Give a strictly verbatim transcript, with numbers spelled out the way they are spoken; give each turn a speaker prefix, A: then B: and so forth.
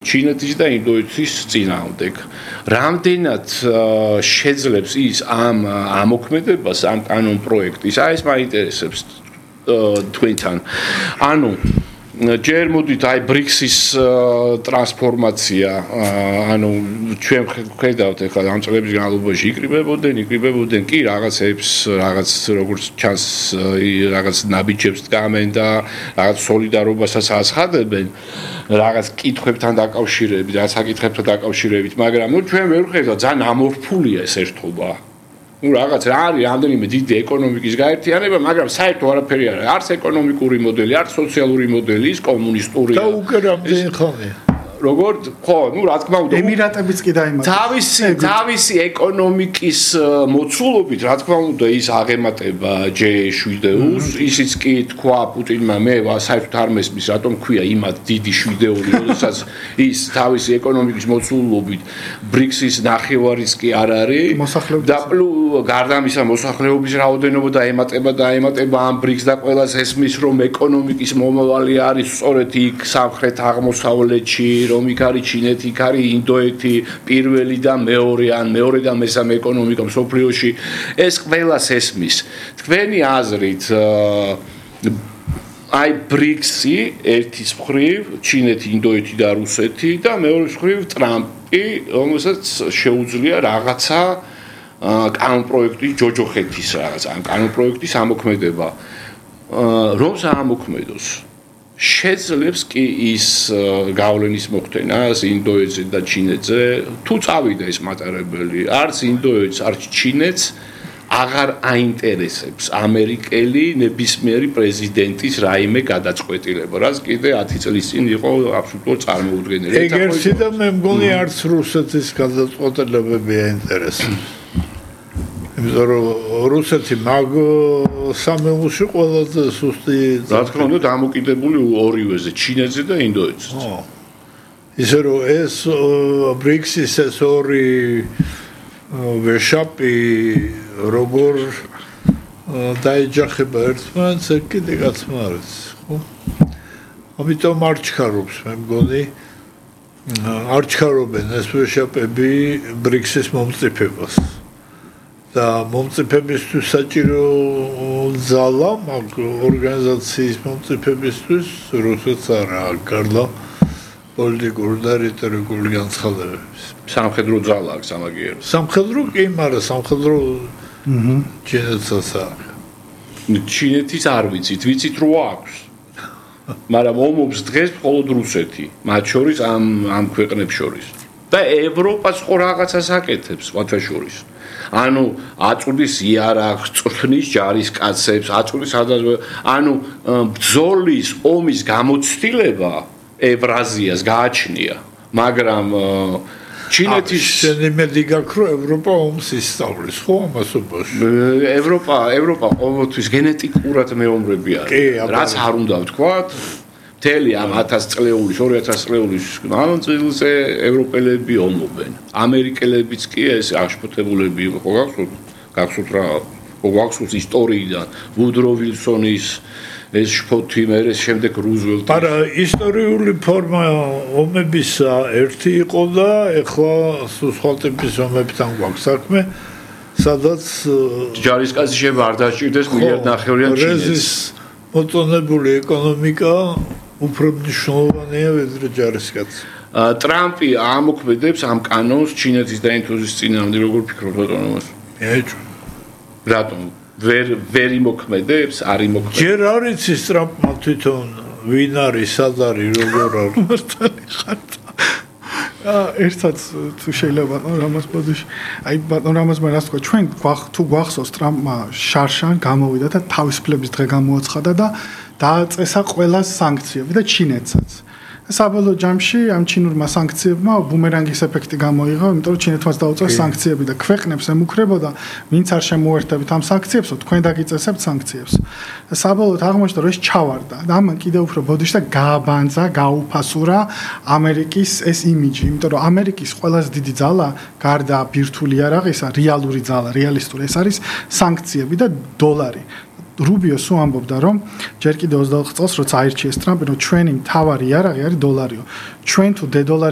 A: ჩინეთის და ინდოეთის წინააღმდეგ. Რამდენად შეძლებს ის ამ ამოქმედებას, ამ კანონ პროექტის, აი ეს მაინტერესებს თქვენთან. ანუ ჯერ მოდით აი ბრიქსის ტრანსფორმაცია, ანუ ჩვენ ხედავთ ახლა ამ წლების განმავლობაში იკრიბებოდნენ, იკრიბებოდნენ კი რაღაცებს, რაღაც როგორც ჩანს, რაღაც ნაბიჯებს დგამენ და რაღაც სოლიდარობასაც აცხადებენ, რაღაც კითხვებთან დაკავშირებით, რაღაც საკითხებთან დაკავშირებით, მაგრამ ნუ ჩვენ ვერ ვხედავთ, ძალიან ამორფულია ეს ერთობა. Ну, რაღაც რა არის რამდენიმე დიდი ეკონომიკის გაერთიანება, მაგრამ საერთო არაფერი არ არის. არც ეკონომიკური მოდელი, არც სოციალური მოდელი, ის კომუნისტური.
B: და უკვე რამდენი ხანია.
A: როგორ ხო, ну, რა თქმა უნდა,
C: ემირატებიც კი დაიმატა.
A: თავისი თავისი ეკონომიკის მოცულობით, რა თქმა უნდა, ის აღემატება ჯე შვიდეულს, ისიც კი თქვა პუტინმა, მე საერთოდ არ მესმის, რატომ ქვია იმათ დიდი შვიდეული, როდესაც ის თავისი ეკონომიკის მოცულობით ბრიქსის ნახევარიც კი არ არის და გარდა ამისა მოსახლეობის რაოდენობა და ემატება და ემატება ამ ბრიქსს და ყველას ესმის, რომ ეკონომიკის მომავალი არის სწორედ იქ სამხრეთ აღმოსავლეთში რომ იქ არის ჩინეთი, იქ არის ინდოეთი, პირველი და მეორე ან მეორე და მესამე ეკონომიკა მსოფლიოში, ეს ყველას ესმის. თქვენი აზრით, აი ბრიქსი ერთის მხრივ, ჩინეთი, ინდოეთი და რუსეთი და მეორეს მხრივ ტრამპი, რომელსაც შეუძლია რაღაცა კანონ პროექტის ჯოჯოხეთის რაღაც, ან კანონ პროექტის ამოქმედება. რომ საამოქმედოს შეძლებს კი ის გავლენის მოხდენას ინდოეთზე და ჩინეთზე, თუ წავიდა ეს მატარებელი, არც ინდოეთს, არც ჩინეთს აღარ აინტერესებს ამერიკელი ნებისმიერი პრეზიდენტის რაიმე გადაწყვეტილება, რაც კიდე ათი წლის წინ იყო აბსოლუტურად წარმოუდგენელი.
B: ეგერთი და მე მგონი არც რუსეთის გადაწყვეტილებები აინტერესებს. იმიტომ რომ რუსეთი მაგ სამეულში ყველაზე სუსტი,
A: რა თქმა უნდა, დამოკიდებული ორივეზე, ჩინეთზე და ინდოეთზე.
B: ისე რომ ეს ბრიქსის ეს ორი ვეშაპი როგორ დაეჯახება ერთმანეთს, ეგ კიდე კაცმა არის, ხო? ამიტომ არ ჩქარობს, მე მგონი, არ ჩქარობენ ეს ვეშაპები ბრიქსის მომწიფებას. და მომწიფებისთვის საჭირო ძალა მაგ ორგანიზაციის მომწიფებისთვის რუსეთს არა გარდა პოლიტიკური და რიტორიკული განცხადებების.
A: სამხედრო ძალა აქვს ამაგიერებს.
B: სამხედრო კი, მაგრამ სამხედრო ჩინეთსაც აქვს.
A: ჩინეთის არ ვიცით, ვიცით რო აქვს. მაგრამ ომობს დღეს მხოლოდ რუსეთი, მათ შორის ამ ამ ქვეყნებს შორის. და ევროპას ხო რაღაცას აკეთებს, სხვათა შორის. ანუ აწვდის იარაღს, წვრთნის ჯარისკაცებს, აწვდის ანუ ბრძოლის ომის გამოცდილება ევრაზიას გააჩნია, მაგრამ ჩინეთის
B: შემედი გაქრო ევროპა ომს ისწავლის, ხო ამასობაში?
A: ევროპა, ევროპა ყოველთვის გენეტიკურად მეომრები არის, რაც არ უნდა ვთქვათ. მთელი ამ ათას წლეულის, ორი ათას წლეულის მანძილზე ევროპელები ომობენ. ამერიკელებიც კი ეს აღშფოთებულები იყო, ხო გახსოვთ? გახსოვთ რა, ხო გახსოვთ ისტორიიდან, ვუდრო ვილსონის ეს შფოთი, მერე შემდეგ რუზველტი.
B: არა, ისტორიული ფორმა ომებისა ერთი იყო და ეხლა სხვა ტიპის ომებთან გვაქვს საქმე, სადაც
A: ჯარისკაცი შეიძლება არ დაჭირდეს მილიარდნახევრიან ჩინეთს.
B: მოწონებული ეკონომიკა უფრო მნიშვნელოვანია ვიდრე ჯარისკაცი.
A: ტრამპი ამოქმედებს ამ კანონს ჩინეთის და ინდოეთის წინააღმდეგ, როგორ ფიქრობთ ბატონო?
B: ეჭვ.
A: რატომ? ვერ ვერ იმოქმედებს, არ იმოქმედებს.
B: ჯერ არ იცის ტრამპმა თვითონ ვინ არის, სად არის, როგორ არის.
C: მართალი ხარ. ერთად თუ შეიძლება ბატონ რამაზ ბოდიში. აი ბატონ რამაზმა რას თქვა, ჩვენ თუ გვახსოვს ტრამპმა შარშან გამოვიდა და თავისუფლების დღე გამოაცხადა და დააწესა ყველა სანქციები და ჩინეთსაც. საბოლოო ჯამში ამ ჩინურმა სანქციებმა ბუმერანგის ეფექტი გამოიღო, იმიტომ რომ ჩინეთმაც დაუწევს სანქციები და ქვეყნებს ემუქრებოდა, ვინც არ შემოერთებით ამ სანქციებსო, თქვენ დაგიწესებთ სანქციებს. საბოლოოდ აღმოჩნდა, რომ ეს ჩავარდა და ამან კიდევ უფრო ბოდიშ და გააბანძა, გაუფასურა ამერიკის ეს იმიჯი, იმიტომ რომ ამერიკის ყველაზე დიდი ძალა, გარდა ბირთვული იარაღისა, რეალური ძალა, რეალისტური ეს არის სანქციები და დოლარი. რუბიო სულ ამბობდა, რომ ჯერ კიდე ოცდაოთხ წელს როცა აირჩიეს ტრამპი, რომ ჩვენი მთავარი იარაღი არის დოლარიო. ჩვენ თუ დე დოლარის